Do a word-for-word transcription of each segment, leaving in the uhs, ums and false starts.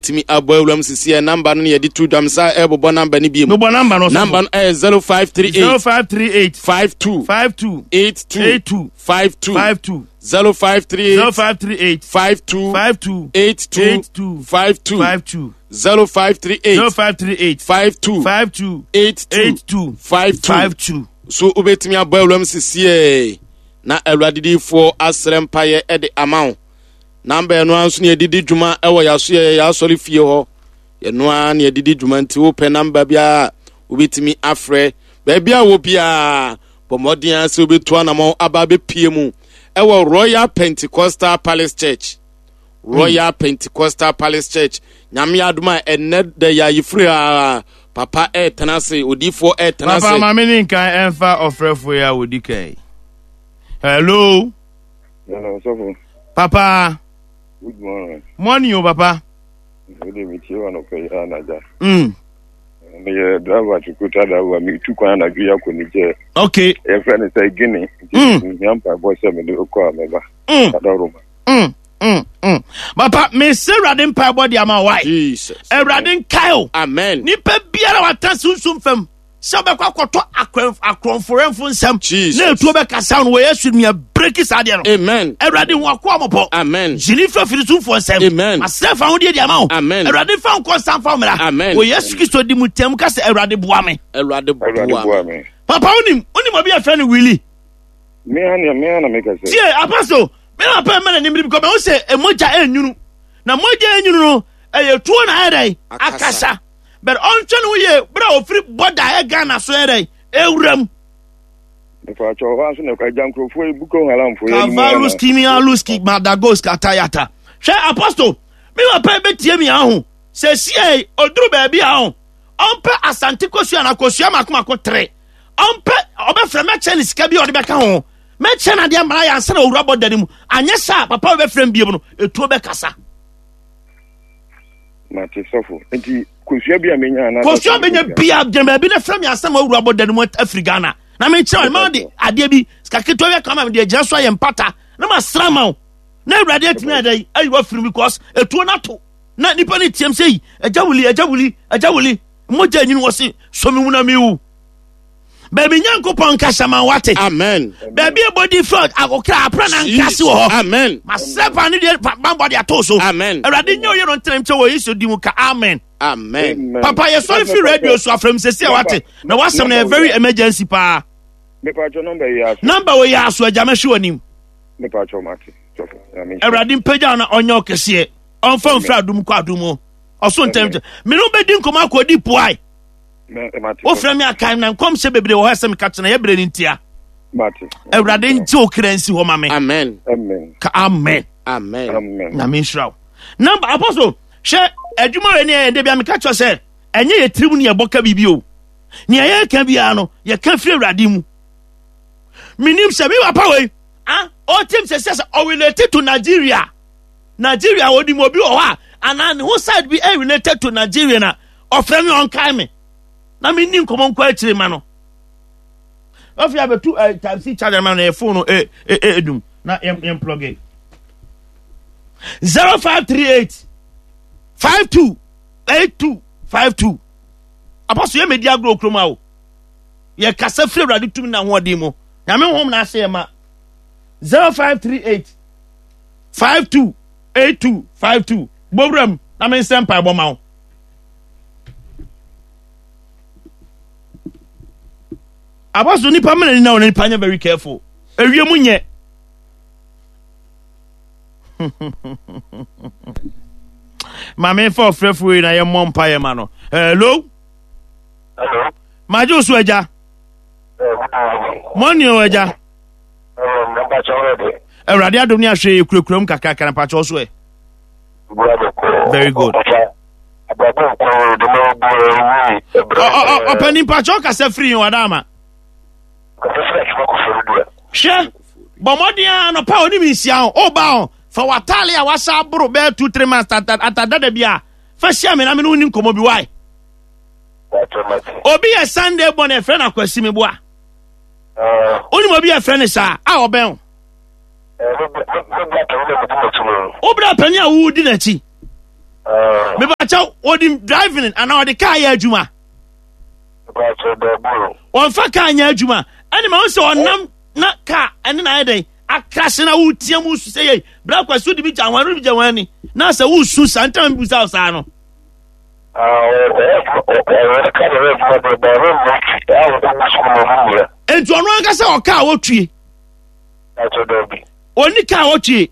Wobɛtumi abɔ awuram sisi ɛ number no ne yɛde to dwam sa ɛbobɔ number no bio. Bobɔ number no. Number no ɛyɛ zero five three eight. zero five three eight. five two. five two. eight two. eight two. five two. five two. zero five three eight. zero five three eight. five two. five two. eight two. eight two. five two. five two. zero five three eight. zero five three eight. five two. five two. eight two. eight two. five two. five two. So wobɛtumi abɔ awuram sisi ɛ na Awurade diifoɔ asrɛ mpayɛ ɛde ama wo. Number ɛno ara nso ne yɛdedi dwuma ɛwɔ yɛaso yɛ yɛasɔre fie hɔ. Yɛno ara ne yɛdedi dwuma, nti wopɛ number biara wobɛtumi afrɛ. Baabi a wɔ biara, bɔ mmɔden a sɛ wobɛtu anammɔn aba abɛpie mu ɛwɔ Royal Pentecostal Palace Church. Royal mm. Pentecostal Palace Church. Nyame adom a, ɛnnɛ da yɛ ayefiri a papa ɛɛtena ase, odiifoɔ ɛɛtena ase. Papa, maame ne nkan ɛmfa ɔfrɛfoɔ yi a wɔdi kan. Hello. Hello, sɔfo. Papa. Good morning. Morning o, papa. Wode metie wa nɔpɛ yi anagya. Mm. Meyɛ driver, tukuta driver, metu kwan anadwo yi akɔ Niger. Okay. Yɛfrɛ no sɛ Guinea. Mm. Nti mehia mpaebɔ sɛ mede kɔ a mɛba. Mm. Adaworoma. Mm. Mm. Mm. Papa, mesɛ Awurade mpaebɔ de ama wae. Jesus. Awurade nkae o. Amen. Nipa biara wata sunsum fam sɛ wobɛkɔ akɔtɔ akorɔmforɛmfo nsɛm Jesus. na ɛtuo bɛkasa no wɔ Yesu nua breki saa deɛ no. Amen. Awurade hu akoa mɔbɔ. Amen. Gyini fa firi sumfoɔ nsɛm. Amen. Masrɛ fa ahodeɛ de ama wo. Amen. Awurade fa nkɔ nsa mfa wo mmara. Amen. Wɔ Yesu Kristo di mu tɛm ka sɛ, Awurade boa me. Awurade Awurade boa boa me. me. Papa, wonim wonim obi a yɛfrɛ no Willy? Me ana me ana meka sɛ. Tie, apostle, me na papa mma n'anim bi kɔ mɛ wo sɛ mogya ɛnwunu na mogya ɛnwunu no ɛyɛ tuo na ayɛ dɛn? Akasa. Akasa, but ɔntwɛ ne ho yie berɛ a ɔfiri bɔda ɛyɛ Ghana so ɛyɛ dɛn ɛwura mu. Mepakyɛ hɔ nso na agya nkurɔfoɔ yi Boko Haramfoɔ yi anim Kavalus ana. kimialuski madagos katayata. Hwɛ, apostle, me papa bɛtie mi aho sɛ sie ɔduru baabi a ho ɔmpɛ Asante kosua na kosua mako mako tere ɔmpɛ ɔbɛfrɛ mɛkyɛ ne sika bi a ɔde bɛka ho, mɛkyɛ no adeɛ mmara yɛ ansa na owura bɔda no mu. Anyɛ saa, papa wobɛfrɛ m biom no, ɛtuo bɛkasa. Mate, sɔfo. Nti kosua bi a menya ana. Kosua bɛnya bia, gyina baabi na frɛ me asɛm a owura bɔda no mu afiri Ghana na menkyerɛ wo ma de adeɛ bi sika ketewa bi aka ma mede agyina so ayɛ mpata na masra ma wo na Awurade atumi ayɛ dɛn ayi wafiri mu, because ɛtuo no ato na nipa no tiam sɛ yi, agya wuli, agya wuli, agya wuli, mogya anyini wɔ se so me mu na mewu. Baabi Nyankopɔn nkasa ma wate. Amen. Baabi ɛbɔdi fɛ akokra apra na nkase wɔ hɔ. Amen. Masrɛ pa ne deɛ bambɔ de ato so. Amen. Awurade nyɛ oyɛ no ntena nkyɛ wɔ Yesu di mu ka amen. Amen. Papa, yɛsɔre firi radio so afrɛm sɛsi a wate na wasɛm no yɛ very emergency paa. Mepakyɛ, number yi aso. Number wɔ yɛ aso, agya, mɛhwe w'anim. Mepakyɛ, mate. Sɔfo. Nyame nhyira. Awurade mpagya na ɔnyɛ ɔkɛseɛ, ɔmfa mfiri adom kɔ adom mu ɔso ntɛm nkyɛ mene wobɛdi nkɔmmɔ akɔdi poae. Me- Mate. Wofrɛ me akae na nkɔmhyɛ bebree wɔ hɔ sɛ meka kyerɛ yɛberɛ no ntia. Mate. Awurade nti wo kra nsi hɔ ma me. Amen. Amen. Ka amen. Amen. Amen. Nyame nhyira wo. Number, apostle, hwɛ, adwuma wei ne ɛyɛ de bia meka kyerɛ sɛ ɛnyɛ yɛ tirim ne yɛbɔ ka biribi o. Nea yɛka biara no, yɛka firi Awurade mu. Menim sɛ me papa wei ah ɔtim sɛ sɛ sɛ ɔrelated to Nigeria. Nigeria onim obi wɔ hɔ a anaa ne ho side bi ɛ related to Nigeria na ɔfrɛ me ɔnkae me na menni nkɔmmɔ nkɔ akyire ma no. Afei abɛtu ɛ type C charger ma no yɛ phone no ɛ ɛ ɛ edum na yɛn yɛn plug in. Zero five three eight five two eight two five two. Apostle, yɛ mɛdi agorɔ kurom a o yɛ kasa firi Awurade tumi na ahoɔden mu. Nyame honhom na ahyɛ yɛ ma. Zero five three eight five two eight two five two. Bowuram na me nsɛm mpaebɔ ma wo. Apostle, nipa mmerɛ ni na wɔn nipa nyɛ very careful, ewie mu nyɛ. Maame, fa ɔfrɛfo yi na yɛ mmɔ mpa yɛ ma no. Hello. Hello. Magye wo so, agya. Mɔne o, agya. Awurade adom ne ahwɛ yɛ kurakura mu kakrakra. Mpakyɛw so ɛ? Very good. Ɔpani, mpakyɛw, kasa firi yɛn wada ama. Hwɛ, bɔ mmɔden a nɔpa a onim nhyia ho ɔba ho, fa w'ataale a wahyɛ aboro bɛyɛ two three months atadada bi a fa hyia me na me ne wo ni nkɔmmɔ bi wae. Obi yɛ Sunday bɔ na ɛfrɛ no Akwasi me boa. Wonim obi yɛ frɛ no saa a ɔbɛn wo? Wobra pani a wowodi n'akyi. Mebakyɛw, ɔde driving anaa ɔde kaa yɛ adwuma? Ɔmfa kaa nyɛ adwuma. Ɛne ma wo sɛ ɔnam na kaa ɛne na ayɛ dɛn akrahye na wotia mu su sɛ yei bra kwa so de bi gya wɔn bi gya wɔn ani na sɛ wosu saa ntam bisa wo saa no. Enti ɔno ankasa ɔkaa wɔtwie. Ɔni kaa wɔtwie.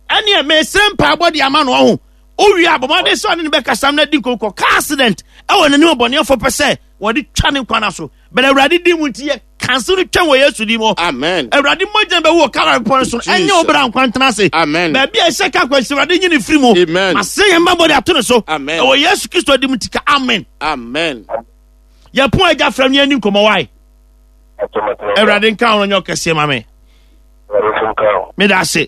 Ɛneɛ mesrɛ mpaebɔ de ama no ɔho. Wowie a bɔmmɔden sɛ ɔne ne bɛkasam no adi nkɔnkɔ car accident ɛwɔ n'anim ɔbɔneɛfoɔ pɛ sɛ wɔde twa ne nkwa no so. Bɛn Awurade din mu nti yɛ kanso no twɛn wɔ Yesu din mu. Amen. Awurade mogya bɛwu wɔ Calvary bepɔ no so. Ɛnyɛ wo bra nkwa ntena ase. Amen. Baabi a ɛhyɛ ka akwanhyia Awurade nyi ne firi mu. Amen. Masrɛ yɛn mma bɔde ato ne so. Amen. Ɛwɔ Yesu Kristo din mu nti ka amen. Amen. Yɛpon agya frɛ no yɛn ni nkɔmmɔ wae. Awurade nka wo no nyɛ ɔkɛseɛ ma me. Meda ase.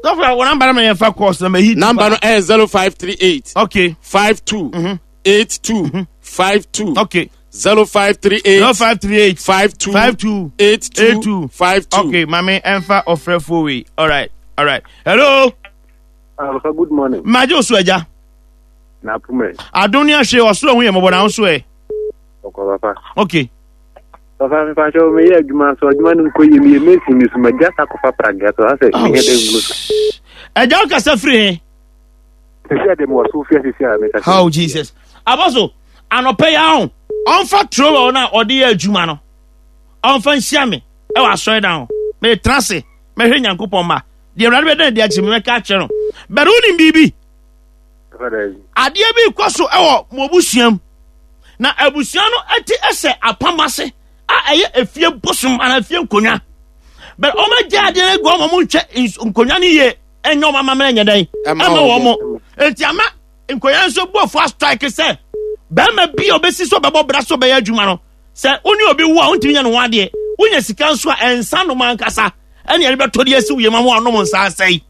Dɔfo a wɔn namba no ma yɛmfa course na mahi. Number no ɛyɛ zero five three eight. Okay. Five two. Mm-hmm. Eight two. Five two. Okay. Zero five three eight. Zero five three eight. Five two. Five two. Eight two. Eight two. Five two. Okay, mame ɛmfa ɔfrɛfoɔ wei. All right. All right. Hello. Alpha, good morning. Magye osu agya. Na pume. Adom ne ahwe ɔsoro ho yɛ mmɔbɔ na nso ɛ. Ɔkɔ papa. Okay. Papa mi fa kyɛw meyɛ adwuma so adwuma no nkɔ yie meyɛ mesi mi so magya sa kɔfa pragea so asɛ mehɛ dɛ ngu so. Agya wo kasa firi he? Sisi a de mewɔ so fia sisi a meka. Oh Jesus. Abɔso anɔpɛ yi ahụ ɔmfa trowel no a ɔde yɛ adwuma no ɔmfa nhyia me ɛwɔ asɔredan ho. Meretena ase mɛhwɛ Nyankopɔn ma deɛ Awurade bɛda adi akyerɛ me mɛka akyerɛ no. Bɛrɛ wonim biribi? Adeɛ bi kɔ so ɛwɔ mo abusua mu na abusua no ɛte ɛsɛ apam ase a ɛyɛ efie bosom anaa efie nkonnwa. Bɛrɛ wɔn agya adeɛ no agu wɔn wɔn nhwɛ nkonnwa no yie ɛnyɛ wɔn amammerɛ nyɛ dɛn ɛma wɔn mo. Eti ama nkonnwa nso bu afu astrike sɛ bɛrima bi a ɔbɛsi so ɔbɛbɔ bra so ɔbɛyɛ adwuma no sɛ wo ne obi wo a wontumi nyɛ ne ho adeɛ wonya sika nso a ɛnsa nom ankasa ɛne ɛde bɛtɔ de asi wo yam ama wanom nsa asɛe.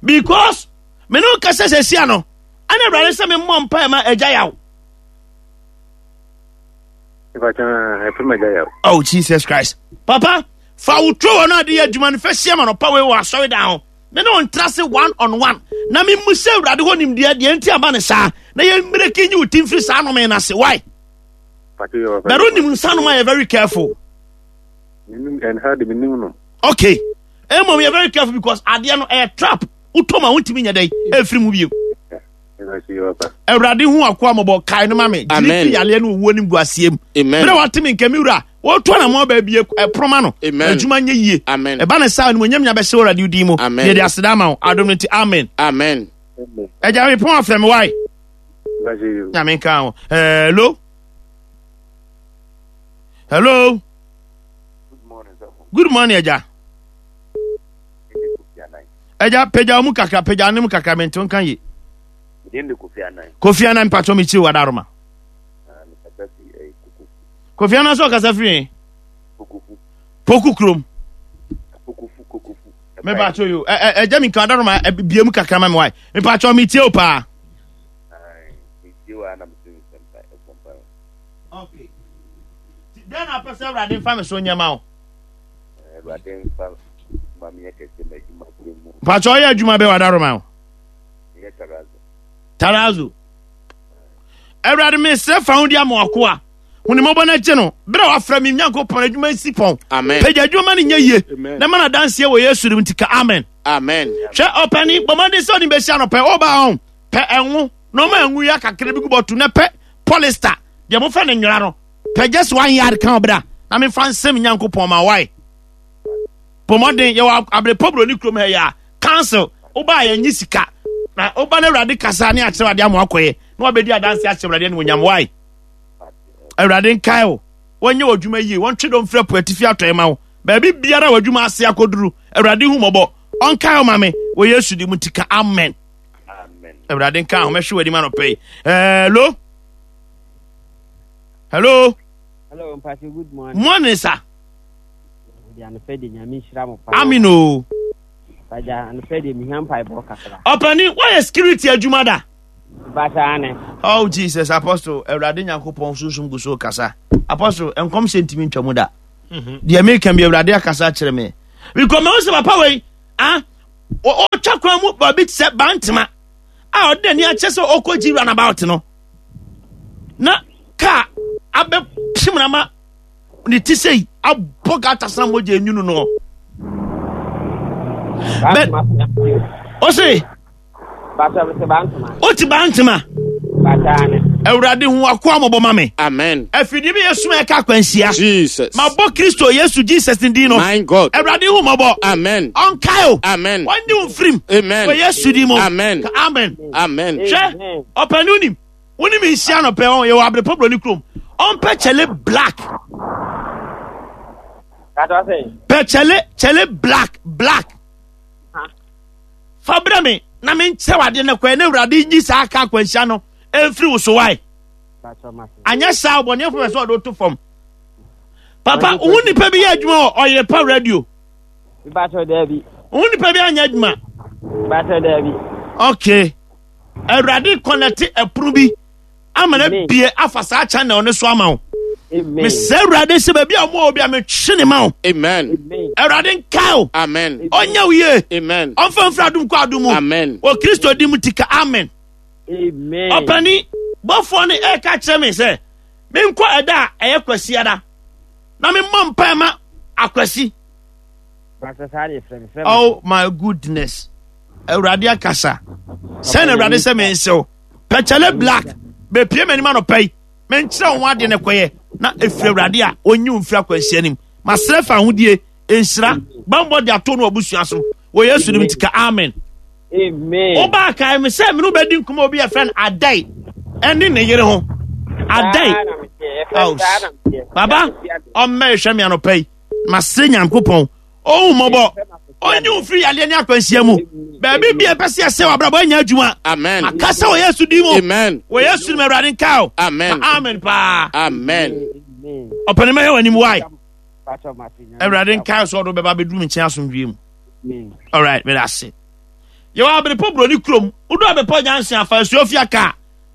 Because me ne wo kasa sɛ sia no ɛna Awurade sɛ memmɔ mpae ma agya yaw. Oh Jesus Christ. Papa, fa wo tro wɔ no ade yɛ adwuma no fa hyia ma no pa wei wɔ asɔredan ho. Me ne wo ntra se one on one na memu sɛ Awurade hɔ nimdeɛ deɛ nti aba ne saa na yɛmmerɛki nyi wo ti mfiri saa nome no ase. Why? But wonim nsa nom a yɛ very careful. Okay. Mmom yɛ very careful because adeɛ no ɛyɛ trap. Wotɔ ma wontumi nyɛ dɛn ɛmfiri mu bio. Awurade hu akoa mmɔbɔ kae no ma me. Gyina fi yareɛ ne owuo ne nguaseɛ mu. Berɛ a wate me nka me wura wɔto na mo baabi ɛporoma no. Adwuma nyɛ yie. Ɛba ne saa animuonyam nya bɛhyɛ Awurade din mu. Yɛde aseda ama wo adom no nti amen. Amen. Agya me pɔn afrɛ me wae. Nyame nka ho. Hello. Hello. Good morning, Agya. Agya pagya mu kakra pagya ne mu kakra mente nka ye. Kofi Anan mpatwɔ me kyiri wadaroma. Kofi Anan sɛ ɔkasa firi he? Poku kurom. Mepatwɔ yo. Agya mi nka wadaroma bie mu kakra ma me wae. Mepatwɔ me tie o paa. Okay. Dɛn na apɛ sɛ Awurade mfa me so nyɛ ma wo? Awurade mfa ma menyɛ kɛse ma adwuma sɛ mu. Mpakyɛ ɔyɛ adwuma bɛ wadaroma wo? Meyɛ tarazo. Tarazo. Awurade mesrɛ fa ho di ama wakoa. Hunimɔbɔ no agye no. Berɛ a wafrɛ me Nyankopɔn adwuma nsi pɔn. Amen. Pagya adwuma ma no nyɛ yie. Na ma no adanseɛ wɔ Yesu dim nti ka amen. Amen. Hwɛ ɔpɛni bɔ mmɔden sɛ ɔde bɛsi anɔpɛ ɔba ho pɛ ɛnwo na ɔma ɛnwo yi akakra bi gu bɔto na pɛ polyester deɛ mofɛ no nwera no pɛ just one yard ka ɔbra na mefa nsɛm Nyankopɔn ma wae. Bɔ mmɔden yɛwɔ abrepɔ buroni kurom ha yi a council woba a yɛnye sika na woba no Awurade kasa ne akyerɛ adeɛ ama wakɔyɛ na wabɛdi adanse ahyɛ Awurade animuonyam wae. Awurade nkae wo wɔnyɛ w'adwuma yie wɔntwe dɔm firi apo atifi atɔe ma wo baabi biara w'adwuma ase akɔduru Awurade hu mmɔbɔ ɔnkae wo ma me wɔ Yesu di mu nti ka amen. Awurade nka ho mɛhwe w'anim anɔpɛ yi. Hello. Hello. Hello, Mpati, good morning. Morning, sir. Amen o. Ɔpani, woayɛ security adwuma da? Basa Oh Jesus, Apostle, Awurade Nyankopɔn sunsum gu so kasa. Apostle, nkɔm hyɛ ntumi ntwa mu da. Deɛ meka bi Awurade akasa akyerɛ me. Because mehu sɛ papa wei, ah, Ɔtwa kwan mu baabi te sɛ Bantama a ɔde n'ani akyɛ sɛ ɔkɔgyi runabout no na kaa abɛpem na ma ne ti sɛ yi abɔ gata sena mogya enwunu no. Bɛ ɔse ɔte Bantama. Awurade hu akoa mmɔbɔ ma me. Amen. Afidie bi yɛ suma ɛka akwanhyia. Jesus. Mabɔ Kristo Yesu Jesus ne din no. My God. Awurade hu mmɔbɔ. Amen. Ɔnkae o. Amen. Wɔnye wo mfirim. Amen. Wɔ Yesu din mu. Amen. Ka amen. Amen. Hwɛ ɔpɛni wonim wonim nhyia no pɛ ɔn yɛwɔ abrepɔ buroni kurom ɔmpɛ kyɛle black pɛ kyɛle kyɛle black black fa brɛ me na menkyerɛ wadeɛ no kɔɛ na awurade nyi saa ka akwanhyia no ɛmfiri wo so wae anyɛ saa ɔbɔneɛfo pɛ sɛ ɔde woto fam papa wo nipa bi yɛ adwuma wɔ ɔyere pa radio wo nipa bi anyɛ adwuma okay awurade kɔnɛte ɛpono bi ama no abie afa saa channel no so ama wo mesɛ awurade sɛ baabi a ɔmo wɔ bi a metwe ne ma wo Amen. Awurade nkae wo. Amen. Ɔnyɛ wo yie. Amen. Ɔmfa mfiri adom kɔ adom mu. Amen. Wɔ Kristo din mu ti ka amen. Amen. Ɔpani bɔfoɔ no ɛreka kyerɛ me sɛ menkɔ ɛda a ɛyɛ kwasiada na memmɔ mpae ma akwasi. Oh my goodness. Awurade akasa. Sɛ na Awurade sɛ mensew. Pɛkyɛlɛ black bepie m'anim anɔpa yi. Menkyerɛ wo ho adeɛ no kɔyɛ na ɛfiri Awurade a ɔnyi wo mfiri akwanhyia no mu. Masrɛ fa ahodie, nhyira, bambɔ de ato no abusua so. Wɔ Yesu nim tika amen. Amen. Woba akae me sɛ mene wobɛdi nkɔmmɔ obi a yɛfrɛ no Adai ɛne ne yere ho. Adai. Baba, ɔmmɛ hwɛ me anɔpa yi. Masrɛ Nyankopɔn. Ɔhu mmɔbɔ. Ɔnyi wo mfiri yadeɛ ne akwanhyia mu. Baabi bi a ɛpɛ sɛ yɛsɛ w'abrabɔ anya adwuma. Amen. Akasa wɔ Yesu din mu. Amen. Wɔ Yesu nim Awurade nka o. Amen. Ka amen paa. Amen. Ɔpɛni mɛhwɛ w'anim wae. Awurade nka sɛ ɔde bɛba bɛduru me nkyɛn asomdwie mu. Alright, meda ase. Yɛwɔ Abrepɔ Buroni kurom. Wodu Abrepɔ Junction afa Asuofia kaa.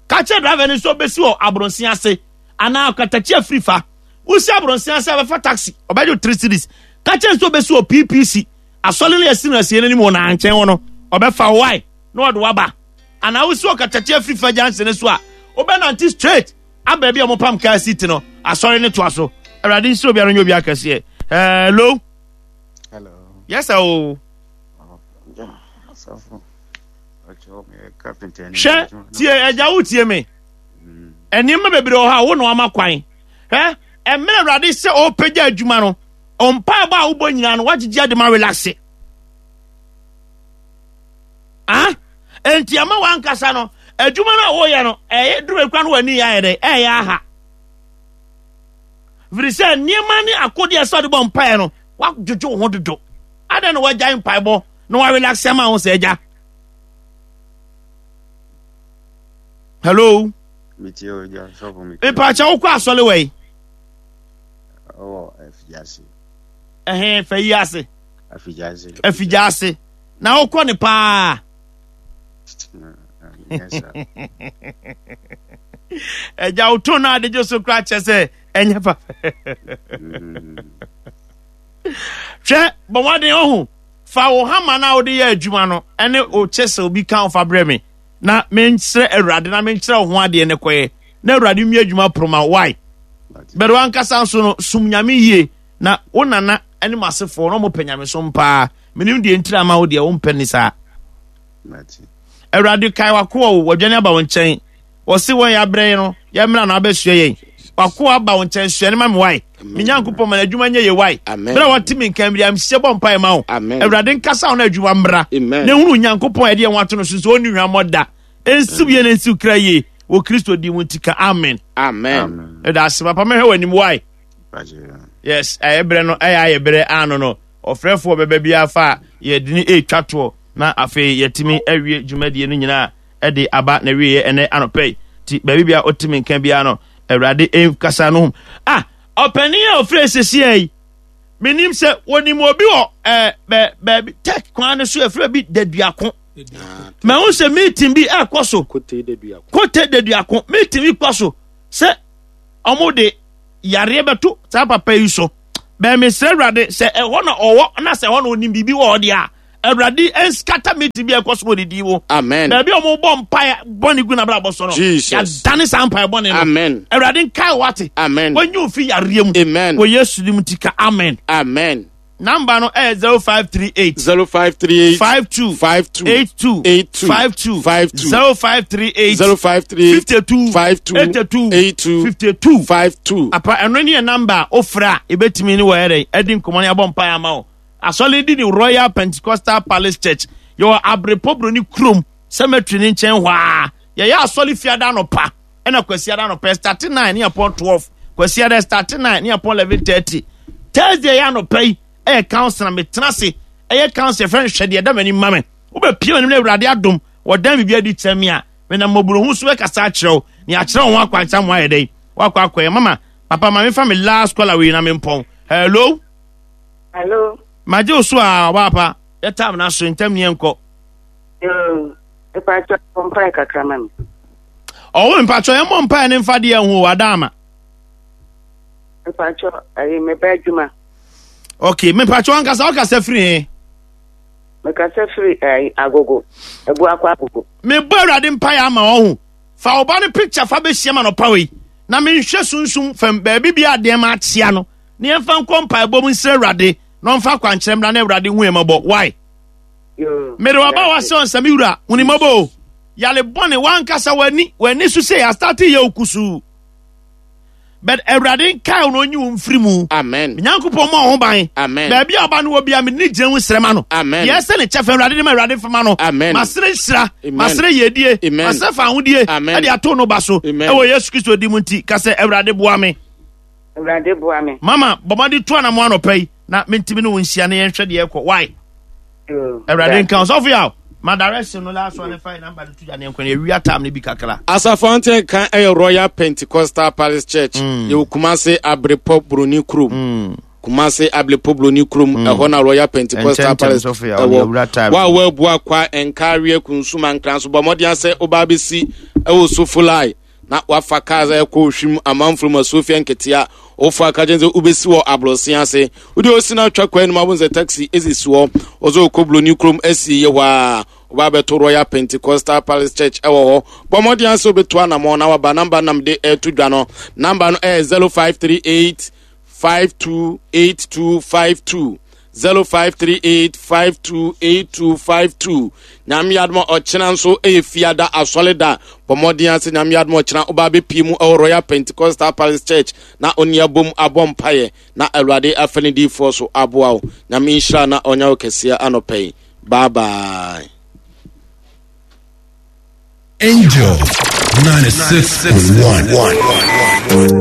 Ka kyerɛ driver no sɛ ɔbɛsi wɔ Abronsen ase anaa Ɔkatakyi afiri fa. Wosi Abronsen ase a bɛfa taxi. Ɔbɛgye wo three cedis. Ka kyerɛ sɛ ɔbɛsi wɔ P P C. Asɔre no yɛsi no asie no anim wɔ nankyɛn hɔ no. Ɔbɛfa wo wae na ɔde waba. Anaa wosi Ɔkatakyi afiri fa junction no so a, wobɛnante straight aba bi a wɔpam kaa seat no. Asɔre no toa so. Awurade nhyira obiara nyɛ obiara kɛseɛ. Hello. Hello. Yes, sir. Oh. Hwɛ tie agya wo tie me. Nneɛma bebree wɔ hɔ a wo na wama kwan. Hwɛ mmerɛ Awurade sɛ ɔrepagya adwuma no, mpaebɔ a wobɔ nyinaa no wagyegye ade ma relaxe. Ah, enti ama wankasa no adwuma no a woyɛ no ɛyɛ duru ekura no w'ani yɛ ayɛ dɛ ɛyɛ aha. Firi sɛ nneɛma ne akodeɛ sɛ ɔde bɔ mpaeɛ no wadwodwo wo ho dodo. Adɛn na wagyae mpaebɔ na warelaxe ama wo sɛ agya? Hello. Mpakyɛ wokɔ asɔre wɔ yi? Ɛhɛn fɛ yi ase. Afigya ase. Na wokɔ ne paa. Agya woto no adegye so kora kyɛ sɛ ɛnyɛ papa. Hwɛ bɔ mmɔden ɔho fa wo hama no a wode yɛ adwuma no ɛne wo kyɛsɛ obi ka wo fa brɛ me na menkyerɛ Awurade na menkyerɛ wo ho adeɛ ne kɔyɛ na Awurade mmie adwuma poroma why bɛde wankasa nso no som nyame yie na wo nana ne m'asefoɔ na ɔmo pɛ nyamesom paa menim deɛ ntira ama wo deɛ wompɛ ne saa. Awurade kae wakoa o wadwane aba wo nkyɛn wɔse wɔn yɛ abrɛ no yɛmmra na abɛsua yɛn wakoa aba wo nkyɛn sua ne ma me wae me nyankopɔn ma n'adwuma nyɛ yɛ wae berɛ a wɔte me nka mmiri amhyɛ bɔ mpae ma wo Awurade nkasa wo na adwuma mmra na ehunu nyankopɔn a ɛde yɛn ho ato no so nso ɔnni hwammɔ da ɛnsiw yɛn ɛnsiw kra yie wɔ Kristo din mu nti ka amen. Amen. Ɛda ase papa mɛhwɛ w'anim wae. Yes, ɛyɛ berɛ no ɛyɛ ayɛ berɛ ano no ɔfrɛfoɔ bɛba biara fa a yɛde ne ɛretwa toɔ na afei yɛtumi awie dwumadie no nyinaa ɛde aba na wieɛ ɛnɛ anɔpɛ yi nti baabi bia ɔtumi nka biara no Awurade nkasa no ho. Ah, ɔpanin a ɔfrɛ sesia yi menim sɛ wɔnim obi wɔ ɛɛ bɛ baabi tech kwan no so ɛfrɛ bi daduako mahu sɛ meeting bi ɛkɔ so kote daduako meeting bi kɔ so sɛ ɔmo de yareɛ bɛto saa papa yi so bɛn mesrɛ Awurade sɛ ɛhɔ na ɔwɔ na sɛ ɛhɔ na ɔnim biribi wɔ hɔ deɛ a Awurade ɛnskata meeting bi a ɛkɔ so wɔ ne din mu. Amen. Baabi a ɔmo bɔ mpae bɔne gu n'abrabɔ so no, Jesus. yɛadane saa mpae bɔne no. Amen. Awurade nkae wate. Amen. Wɔnyi wo fi yareɛ mu. Amen. Wɔ Yesu dim nti ka amen. Amen. Number no ɛyɛ zero five three eight. zero five three eight five two five two eight two eight two five two five two zero five three eight zero five three eight fifty two five two eighty two eight two fifty two. five two. Apa, ɛno ne yɛ number a ofra a ebetumi ne wɔyɛ dɛ ɛdi nkɔmɔ ne abɔ mpae ama wo. Asɔre di ne Royal Pentecostal Palace Church, yɛwɔ Abrepɔ Broni kurom, cemetery ne nkyɛn hɔ a. Yɛyɛ asɔre Fiada anɔpa ɛna Kwasiada anɔpa, start nine ne yɛpɔn twelve. Kwasiada start nine ne yɛpɔn eleven thirty. Thursday yɛ anɔpa yi ɛyɛ council na metena ase ɛyɛ council fɛn hwɛ deɛ ɛda m'anim ma me. Wobɛpie m'anim na Awurade adom wɔdan biribi adi kyerɛ me a, menam mmɔborɔhu so bɛkasa akyerɛ wo ne akyerɛ wo ho akwankyerɛ mo ayɛ dɛn wakɔ akɔyɛ. Mama, papa, ma mefa me last caller wei na mempɔn. Hello. Hello. Magye wo so a ɔbaapa, yɛ time no aso ntam ne yɛnkɔ. Yoo, mepakyɛ, bɔ mpae kakra ma me. Ɔwo mpakyɛ, yɛmmɔ mpae ne mfa deɛ ho wada ama. Mepakyɛ, ɛyi meba adwuma. Ok, mepakyɛ, wankasa wokasa firi he? Mekasa firi ɛyi Agogo. Abuakɔ Agogo. Mebɔ Awurade mpaeɛ ama wɔ ho. Fa wo ba no picture fa bɛhyia ma nɔpa wei na menhwɛ sunsum fam baabi bia adeɛ ma akyea no na yɛmfa nkɔ mpaebɔ mu nsrɛ Awurade na ɔmfa akwankyerɛ mmra na Awurade hu yɛn mmɔbɔ. Why? Yoo. Mede waba wahyɛ ɔnsɛm wura huni mmɔbɔ o. Yale bɔne wankasa w'ani w'ani so sɛ yɛastart yɛ wo kusuu, but Awurade nkae wo na ɔnyi wo mfiri mu. Amen. Nyankopɔn ma wo ho ban. Amen. Baabi a ɔba no wɔ bia, mede ne gyina ho srɛ ma no. Amen. Deɛ ɛsɛ ne kyɛfɛ Awurade de ma, Awurade fama no. Amen. Masere nhyira. Amen. Masere yɛdie. Amen. Masere fa ahodie. Amen. Ɛde ato no ba so. Amen. Ɛwɔ Yesu Kristo di mu nti ka sɛ, Awurade boa me. Awurade boa me. Mama, bɔmmɔde to anamo anɔpa yi na mentimi ne wo nhyia na yɛnhwɛ deɛ ɛkɔ. Why? Yoo. Awurade nka wo. Sɔfo yaw ma direction no, last one, fa number no to gya ne yɛnkɔ ne yɛwia time no bi kakra. Asafo ante kan ɛyɛ Royal Pentecostal Palace Church. Mm. Yɛwɔ Kumase, Abrepɔ Buroni kurom. Kumase, Abrepɔ Buroni kurom, ɛhɔ na Royal Pentecostal Ɛnkyɛnkyɛn Palace sɔfo yaw, ne ɛwɔ. yɛwura time. Wa a wɔabu akwa nkareɛ kunsuma nkran so, bɔ mmɔden sɛ wobaa bɛsi ɛwɔ Sofolai na wafa cars a ɛkɔ Ohwim amanfo mu Asuofia nketea. Wofa ka kyɛn sɛ wobɛsi wɔ aborɔse ase, wode osi no atwa kwan no mu abom sɛ taxi ɛsisi hɔ, ɔsɛ ɔkɔ Buroni kurom asi yɛ hɔ a woba bɛto Royal Pentecostal Palace Church ɛwɔ hɔ. Bɔ mmɔden sɛ wobɛtu anammɔ na waba. Number nam de ɛto dwa no, number no ɛyɛ zero five three eight five two eight two five two, zero five three eight five two eight two five two. Nyame adom a, ɔkyena nso ɛyɛ Fiada asɔre da. Bɔ mmɔden ase, Nyame adom a, ɔkyena woba bɛpie mu ɛwɔ Royal Pentecostal Palace Church na ɔni abom abɔ mpaeɛ na Awurade afa ne diifoɔ so aboa wo. Nyame nhyira na ɔnya wo kɛseɛ anɔpɛ yi. Bye bye. Angel ninety-six point one.